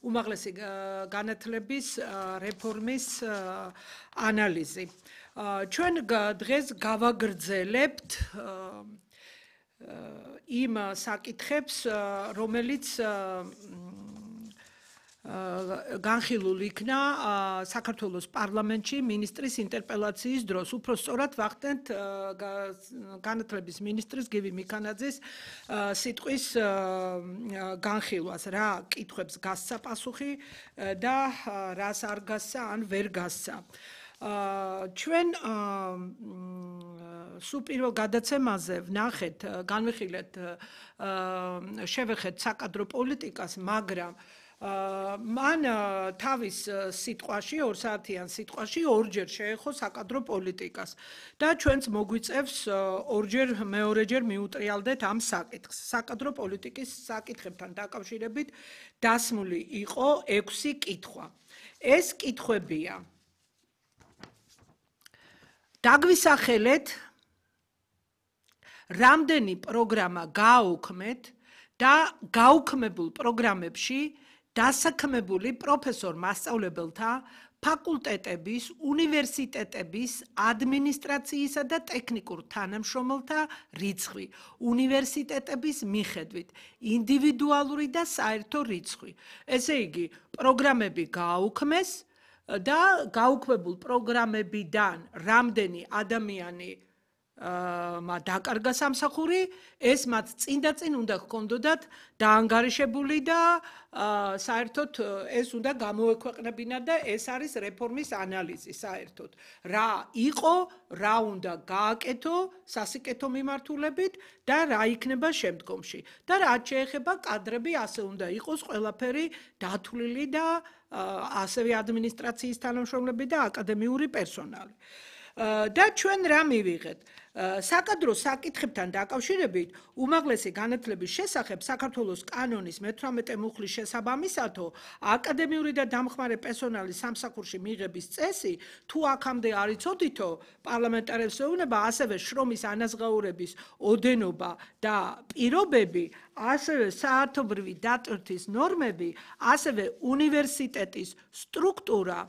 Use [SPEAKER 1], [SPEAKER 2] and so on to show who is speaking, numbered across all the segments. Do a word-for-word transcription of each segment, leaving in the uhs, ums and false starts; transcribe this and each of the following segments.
[SPEAKER 1] უმაღლესი განათლების რეფორმის ანალიზი. ჩვენ დღეს გავაგრძელებთ იმ საკითხებს, რომელიც განხილულ იქნა საქართველოს პარლამენტში მინისტრის ინტერპელაციის დროს. უფრო სწორად ვახდენთ განათლების მინისტრის გივი მიქანაძის სიტყვის განხილვას, რა კითხვებს გასცა პასუხი და რას არ გასცა ან ვერ გასცა. ჩვენ სულ პირველ გადაცემაზე ვნახეთ, განვიხილეთ, შევეხეთ საკადრო პოლიტიკას, მაგრამ მან თავის სიტყვაში, ორ საათიან სიტყვაში ორჯერ შეეხო საკადრო პოლიტიკას და ჩვენც მოგვიწევს ორჯერ მეორეჯერ მიუტრიალდეთ ამ საკითხს. საკადრო პოლიტიკის საკითხებთან დაკავშირებით დასმული იყო ექვსი კითხვა. ეს კითხვებია: დაგვისახელეთ, რამდენი პროგრამა გააუქმეთ და გაუქმებულ პროგრამებში დასაქმებული პროფესორ-მასწავლებელთა, ფაკულტეტების, უნივერსიტეტების, ადმინისტრაციისა და ტექნიკურ თანამშრომელთა რიცხვი, უნივერსიტეტების მიხედვით, ინდივიდუალური და საერთო რიცხვი. ესე იგი, პროგრამები გააუქმეს და გაუქმებულ პროგრამებიდან რამდენი ადამიანი დაკარგა სამსახური, ეს მათ წინ და წინ უნდა ჰქონდოდათ დაანგარიშებული და საერთოდ ეს უნდა გამოექვეყნებინა და ეს არის რეფორმის ანალიზი საერთოდ. რა იყო, რა უნდა გააკეთო სასიკეთო მიმართულებით და რა იქნება შემდგომში. და რაც შეეხება კადრები, ასე უნდა იყოს ყველაფერი დათვლილი და ასევე ადმინისტრაციის თანამშრომლები და აკადემიური პერსონალი. და ჩვენ რა მივიღეთ? საკადრო საკითხებთან დაკავშირებით უმაღლესი განათლების შესახებ საქართველოს კანონის მეთვრამეტე მუხლის შესაბამისათო აკადემიური და დამხმარე პერსონალის სამსახურში მიღების წესი თუ აქამდე არ იცოდითო პარლამენტარებს ეუბნება ასევე შრომის ანაზღაურების ოდენობა და პირობები, ასევე საათობრივი დატვირთვის ნორმები, ასევე უნივერსიტეტის სტრუქტურა,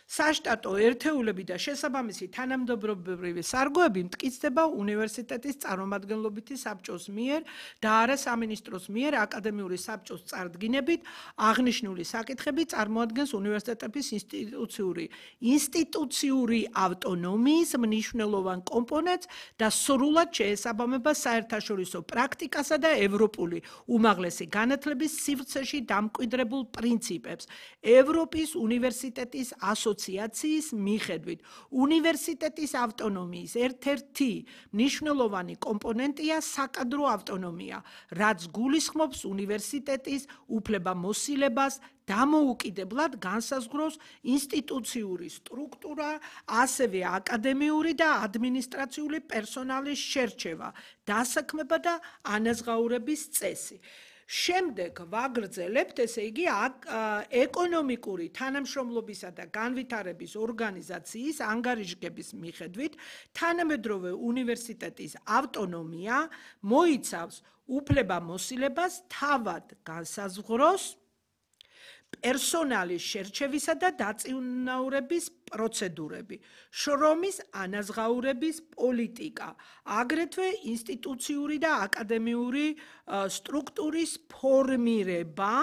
[SPEAKER 1] საშტატო ერთეულები და შესაბამისი თანამდებობრივი სარგოები მტკიცდება უნივერსიტეტის წარმომადგენლობითი საბჭოს მიერ და არა სამინისტროს მიერ აკადემიური საბჭოს წარდგინებით აღნიშნული საკითხები წარმოადგენს უნივერსიტეტების ინსტიტუციური ინსტიტუციური ავტონომიის მნიშვნელოვან კომპონენტს და სრულად შეესაბამება საერთაშორისო პრაქტიკასა და ევროპული უმაღლესი განათლების სივრცეში დამკვიდრებულ პრინციპებს. ევროპის უნივერსიტეტის ასოციაციის ასოციაციის მიხედვით უნივერსიტეტის ავტონომიის ერთ-ერთი მნიშვნელოვანი კომპონენტია საკადრო ავტონომია, რაც გულისხმობს უნივერსიტეტის უფლებამოსილებას დამოუკიდებლად განსაზღვროს ინსტიტუციური სტრუქტურა, ასევე აკადემიური და ადმინისტრაციული პერსონალის შერჩევა, დასაქმება და ანაზღაურების წესი. შემდეგ ვაგრძელებთ, ესე იგი, ეკონომიკური თანამშრომლობისა და განვითარების ორგანიზაციის ანგარიშგების მიხედვით თანამედროვე უნივერსიტეტის ავტონომია მოიცავს უფლებამოსილებას თავად განსაზღვროს პერსონალის შერჩევისა და დაწინაურების პროცედურები, შრომის ანაზღაურების პოლიტიკა, აგრეთვე ინსტიტუციური და აკადემიური სტრუქტურის ფორმირება.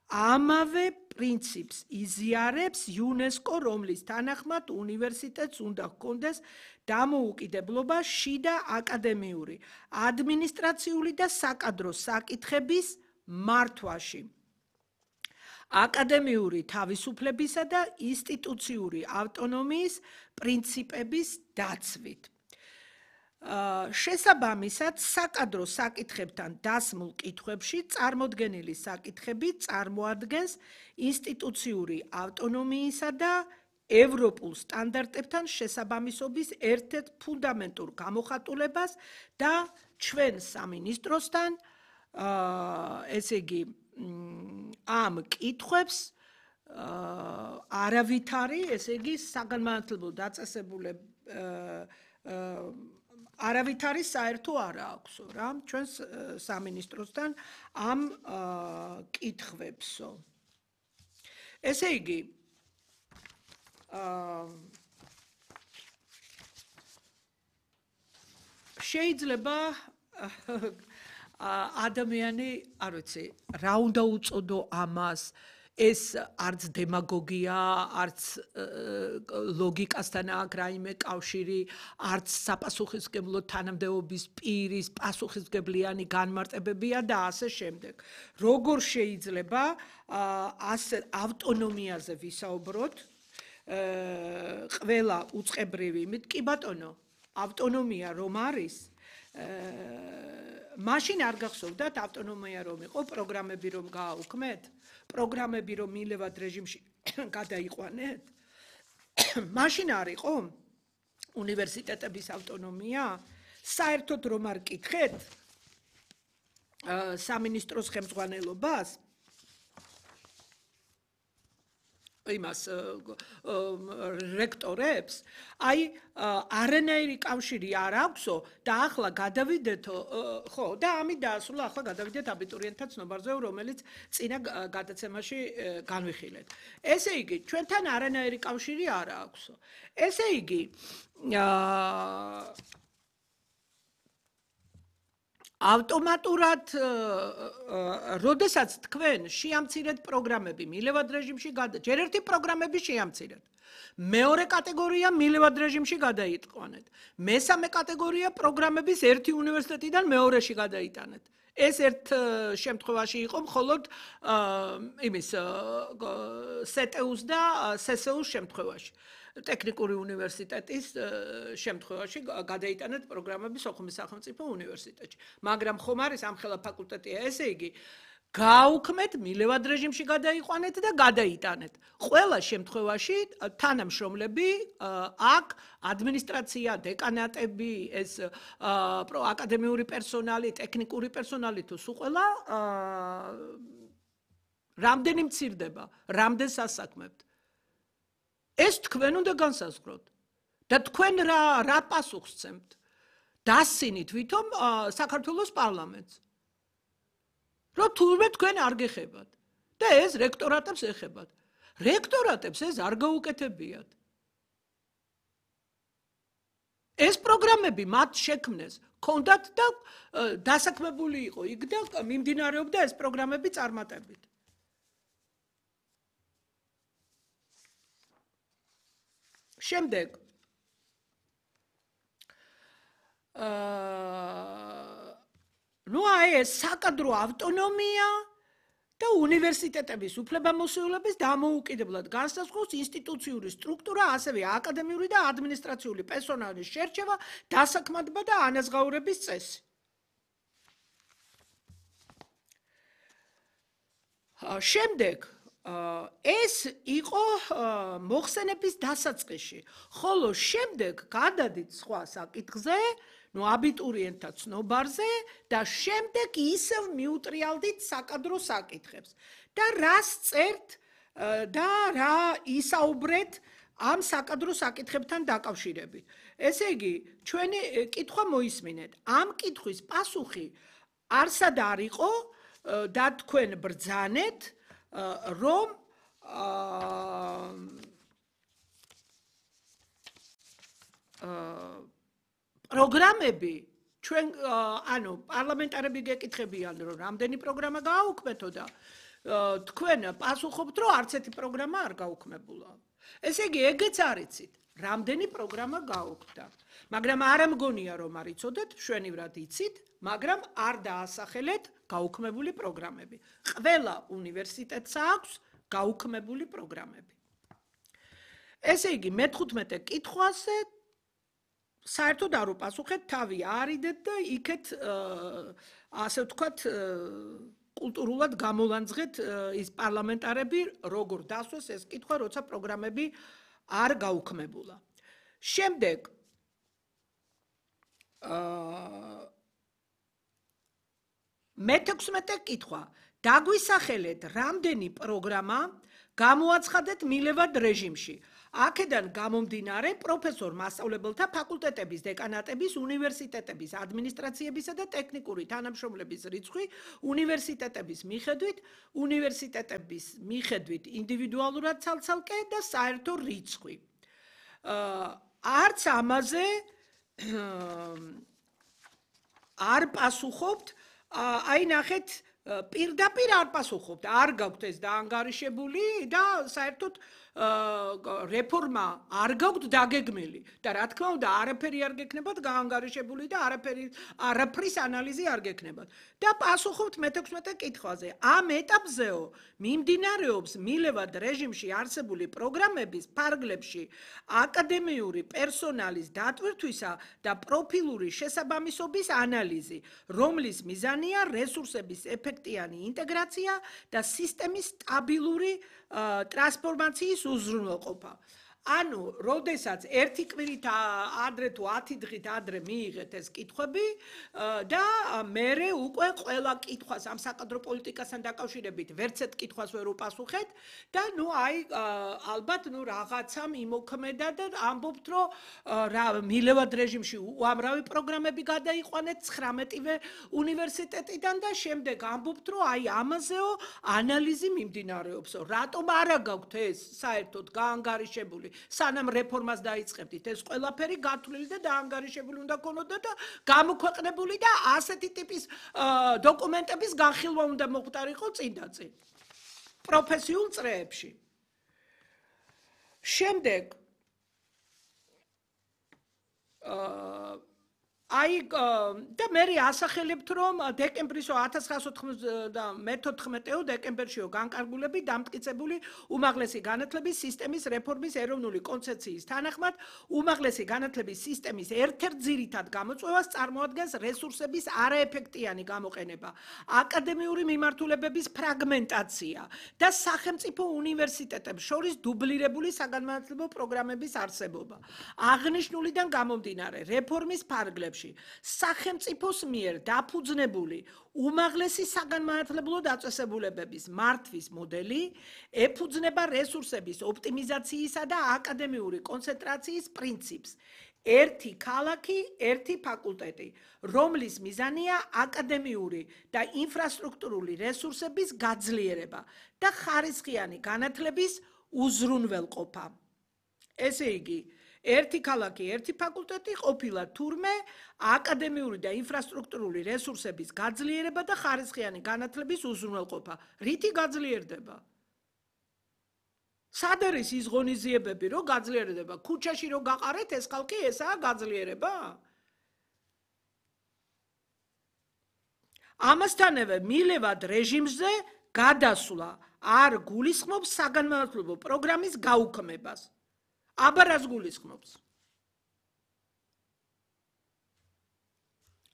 [SPEAKER 1] ამავე პრინციპს იზიარებს იუნესკო, რომლის თანახმად უნივერსიტეტს უნდა ჰქონდეს დამოუკიდებლობა შიდა აკადემიური, ადმინისტრაციული და საკადრო საკითხების მართვაში. აკადემიური თავისუფლებისა და ინსტიტუციური ავტონომიის პრინციპების დაცვით. შესაბამისად, საკადრო საკითხებთან დასმულ კითხვებში წარმოდგენილი საკითხები წარმოადგენს ინსტიტუციური ავტონომიისა და ევროპულ სტანდარტებთან შესაბამისობის ერთ-ერთ ფუნდამენტურ გამოხატულებას და ჩვენ სამინისტროსთან, ესე იგი, ამ კითხვებს არავითარი, ესე იგი, საგანმანათლებლო დაწესებულება არავითარი საერთო არ აქვსო რა ჩვენს სამინისტროსთან ამ კითხვებსო. ესე იგი შეიძლება ადამიანი არ ვიცი რა უნდა უწოდო ამას ეს არც დემაგოგია, არც ლოგიკასთან აქვს რაიმე კავშირი, არც საპასუხისმგებლო თანამდებობის პირის პასუხისმგებლიანი განმარტებებია და ასე შემდეგ. როგორ შეიძლება ასე ავტონომიაზე ვისაუბროთ? ყველა უწყებრივი, იმით კი ბატონო, ავტონომია რომ არის, მაშინ არ გახსოვდათ ავტონომია რომ იყო, პროგრამები რომ გააუქმეთ? პროგრამები რომ მილევად რეჟიმში გადაიყვანეთ, მაშინ არ იყო უნივერსიტეტების ავტონომია, საერთოდ რომ არ კითხეთ სამინისტროს ხელმძღვანელობას, იმას რექტორებს, აი არანაირი კავშირი არ აქვსო და ახლა გადავიდეთო, ხო, და ამით დაასრულა, ახლა გადავიდეთ აბიტურიენტთა ცნობარზე, რომელიც წინა გადაცემაში განვიხილეთ. ესე იგი, ჩვენთან არანაირი კავშირი არ აქვსო. ესე იგი, ავტომატურად როდესაც თქვენ შეამცირეთ პროგრამები მილევად რეჟიმში გადა ჯერ ერთი პროგრამები შეამცირეთ მეორე კატეგორია მილევად რეჟიმში გადაიტყვანეთ მესამე კატეგორია პროგრამების ერთი უნივერსიტეტიდან მეორეში გადაიტანეთ ეს ერთ შემთხვევაში იყო მხოლოდ იმის სეტეუს და სესეუს შემთხვევაში ტექნიკური უნივერსიტეტის შემთხვევაში გადაიტანეთ პროგრამები სოხუმის სახელმწიფო უნივერსიტეტში. მაგრამ ხომ არის ამხელა ფაკულტეტია, ესე იგი, გააუქმეთ, მილევად რეჟიმში გადაიყვანეთ და გადაიტანეთ. ყველა შემთხვევაში თანამშრომლები აქ ადმინისტრაცია, დეკანატები, ეს აკადემიური პერსონალი, ტექნიკური პერსონალი თუ სულ ყველა რამდენი მცირდება, რამდენ სასაქმებთ. ეს თქვენ უნდა განსაზღვროთ და თქვენ რა რა პასუხს სცემთ დასცინით ვითომ საქართველოს პარლამენტს რომ თურმე თქვენ არ გეხებათ და ეს რექტორატებს ეხებათ რექტორატებს ეს არ გაუკეთებიათ ეს პროგრამები მათ შექმნეს კონდათ და დასაქმებული იყო იქ და მიმდინარეობდა ეს პროგრამები წარმატებით შემდეგ ნუ აი ეს საკადრო ავტონომია და უნივერსიტეტების უფლებამოსილების დამოუკიდებლად განსაზღვროს ინსტიტუციური სტრუქტურა, ასევე აკადემიური და ადმინისტრაციული პერსონალის შერჩევა, დასაქმება და ანაზღაურების წესი. შემდეგ ეს იყო მოხსენების დასაწყისში, ხოლო შემდეგ გადადით სხვა საკითხზე, ნუ აბიტურიენტთა ცნობარზე და შემდეგ ისევ მიუტრიალდით საკადრო საკითხებს. და რას წერთ და რა ისაუბრეთ ამ საკადრო საკითხებთან დაკავშირებით. ესე იგი, ჩვენი კითხვა მოისმინეთ. ამ კითხვის პასუხი არსად არ იყო და თქვენ ბრძანეთ რომ პროგრამები ჩვენ ანუ პარლამენტარები გეკითხებიან რომ რამდენი პროგრამა გააუქმეთო და თქვენ პასუხობთ რომ არც ერთი პროგრამა არ გაუქმებულა. ესე იგი ეგეც არიცით რამდენი პროგრამა გაუქმდა. მაგრამ არ ამგონია რომ არ იცოდეთ, შვენივრად იცით, მაგრამ არ დაასახელეთ გაუქმებული პროგრამები. ყველა უნივერსიტეტს აქვს გაუქმებული პროგრამები. ესე იგი, მეთერთმეტე კითხვაზე საერთოდ არ უპასუხეთ, თავი არიდეთ და იქეთ ასე ვთქვათ კულტურულად გამოლანძღეთ ის პარლამენტარები, როგორ დასვეს ეს კითხვა, როცა პროგრამები არ გაუქმებულა. შემდეგ მეთექვსმეტე კითხვა. დაგვისახელეთ, რამდენი პროგრამა გამოაცხადეთ მილევად რეჟიმში. აქედან გამომდინარე პროფესორ მასწავლებელთა ფაკულტეტების, დეკანატების, უნივერსიტეტების, ადმინისტრაციებისა და ტექნიკური თანამშრომლების რიცხვი უნივერსიტეტების მიხედვით, უნივერსიტეტების მიხედვით ინდივიდუალურად ცალ-ცალკე და საერთო რიცხვი. არც ამაზე არ პასუხობთ, აი ნახეთ, პირდაპირ არ პასუხობთ, არ გაქვთ ეს დაანგარიშებული და საერთოდ რეფორმა არ გაქვთ დაგეგმილი და რა თქმა უნდა არაფერი არ გექნებათ გაანგარიშებული და არაფერი არაფრის ანალიზი არ გექნებათ და პასუხობთ მეთექვსმეტე კითხვაზე. ამ ეტაპზეო მიმდინარეობს მილევად რეჟიმში არსებული პროგრამების ფარგლებში აკადემიური პერსონალის დატვირთვისა და პროფილური შესაბამისობის ანალიზი, რომლის მიზანია რესურსების ეფექტიანი ინტეგრაცია და სისტემის სტაბილური ტრანსფორმაციის უზრუნველყოფა. ანუ, როდესაც ერთი კვირით ადრე თუ ათი დღით ადრე მიიღეთ ეს კითხვები და მერე უკვე ყველა კითხვას ამ საკადრო პოლიტიკასთან დაკავშირებით ვერცერთ კითხვას ვერ უპასუხეთ და ნუ აი ალბათ ნუ რაღაცამ იმოქმედა და ამბობთ რომ რა მილევად რეჟიმში უამრავი პროგრამები გადაიყვანეთ ცხრამეტივე უნივერსიტეტიდან და შემდეგ ამბობთ რომ აი ამაზეო ანალიზი მიმდინარეობს. რატომ არა გაქვთ ეს საერთოდ გაანგარიშებული სანამ რეფორმას დაიწყებდით ეს ყველაფერი გათვლილი და დაანგარიშებული უნდა ქონოდა და გამოქვეყნებული და ასეთი ტიპის დოკუმენტების განხილვა უნდა მოხდარიყო წინდაწინ პროფესიულ წრეებში. შემდეგ აი და მე ასახელებთ რომ დეკემბრისო ათას ცხრაასო მეთოთხმეტეო დეკემბერშიო განკარგულები დამტკიცებული უმაღლესი განათლების სისტემის რეფორმის ეროვნული კონცეფციის თანახმად უმაღლესი განათლების სისტემის ერთ-ერთ ძირითად გამოწვევას წარმოადგენს რესურსების არაეფექტიანი გამოყენება, აკადემიური მიმართულებების ფრაგმენტაცია და სახელმწიფო უნივერსიტეტებს შორის დუბლირებული საგანმანათლებლო პროგრამების არსებობა. აღნიშნულიდან გამომდინარე რეფორმის ფარგლებში სახელმწიფოს მიერ დაფუძნებული უმაღლესი საგანმანათლებლო დაწესებულებების მართვის მოდელი ეფუძნება რესურსების ოპტიმიზაციისა და აკადემიური კონცენტრაციის პრინციპს. ერთი ქალაქი, ერთი ფაკულტეტი, რომლის მიზანია აკადემიური და ინფრასტრუქტურული რესურსების გაძლიერება და ხარისხიანი განათლების უზრუნველყოფა. ესე იგი, ერთი ქალაქი, ერთი ფაკულტეტი ყოფილა თურმე აკადემიური და ინფრასტრუქტურული რესურსების გაძლიერება და ხარისხიანი განათლების უზრუნველყოფა. რითი გაძლიერდება? სად არის ის ღონისძიებები, რომ გაძლიერდება? ქუჩაში რომ გაყარეთ ეს ხალხი, ესაა გაძლიერება? ამასთანავე მილევად რეჟიმზე გადასვლა არ გულისხმობს საგანმანათლებლო პროგრამის გაუქმებას. აბა რას გულისხმობს?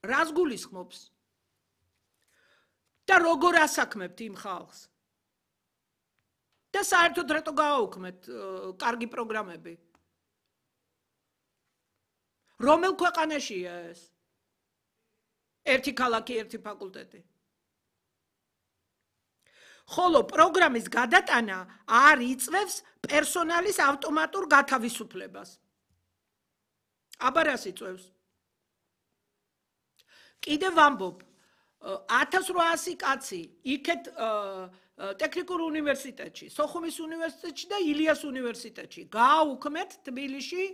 [SPEAKER 1] რას გულისხმობს? და როგორ ასაქმებთ იმ ხალხს? და საერთოდ რატო გააუქმეთ კარგი პროგრამები? რომელ ქვეყანაშია ეს? ერთი ქალაქი, ერთი ფაკულტეტი. ხოლო პროგრამის გადატანა არ იწვევს პერსონალის ავტომატურ გათავისუფლებას. აბა რას იწვევს? კიდევ ვამბობ, ათას რვაასი კაცი იქეთ ტექნიკურ უნივერსიტეტში, სოხუმის უნივერსიტეტში და ილიას უნივერსიტეტში გააუქმეთ თბილისში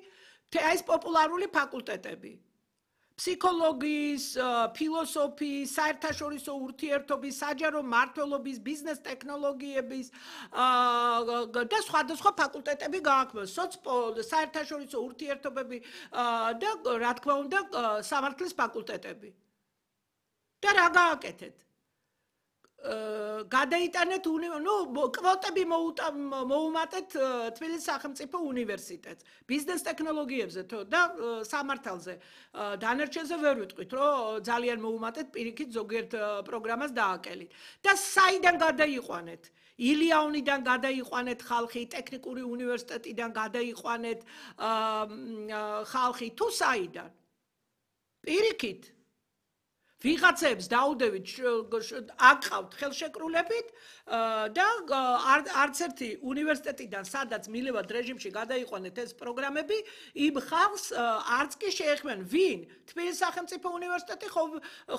[SPEAKER 1] ეს პოპულარული ფაკულტეტები. ფსიქოლოგიის, ფილოსოფიის, საერთაშორისო ურთიერთობის, საჯარო მმართველობის, ბიზნეს ტექნოლოგიების და სხვადასხვა ფაკულტეტები გააქმეს, საერთაშორისო ურთიერთობები და რა თქმა უნდა სამართლის ფაკულტეტები. და რა გააკეთეთ? გადაიტანეთ ნუ კვოტები მოუმატეთ თბილისის სახელმწიფო უნივერსიტეტს ბიზნეს ტექნოლოგიებზე და სამართალზე დანარჩენზე ვერ ვიტყვით რომ ძალიან მოუმატეთ პირიქით ზოგიერთ პროგრამას დააკელით და საიდან გადაიყვანეთ ილიანიდან გადაიყვანეთ ხალხი ტექნიკური უნივერსიტეტიდან გადაიყვანეთ ხალხი თუ საიდან პირიქით ვიღაცებს დაუდევით აკყავთ ხელშეკრულებით და არც ერთი უნივერსიტეტიდან სადაც მილევად რეჟიმში გადაიყვანეთ ეს პროგრამები იმ ხალხს არც კი შეეხმენ ვინ თბილისის სახელმწიფო უნივერსიტეტი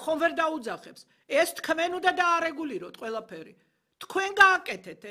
[SPEAKER 1] ხომ ვერ დაუძახებს ეს თქვენ უნდა დაარეგულიროთ ყველაფერი თქვენ გააკეთეთ